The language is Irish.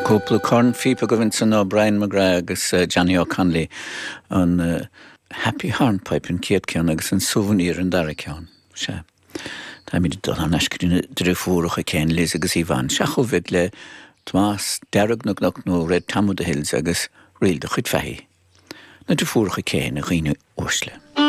Cúpla cornphíopa agaibh ansan ó Brian McGrath agus Johnny O'Connolly, an Happy Hornpipe an chéad ceann agus an Souvenir an dara ceann. Sea. Táimid ag dul thar n-ais go dtí na driofúracha céanna, Liz agus Yvonne. Seo chugaibh iad le Tomás Dearg na gCnoc nó Red Tom of the Hills agus Ríl do Chuid Fathaigh. Na driofúracha céanna, a dhaoine uaisle.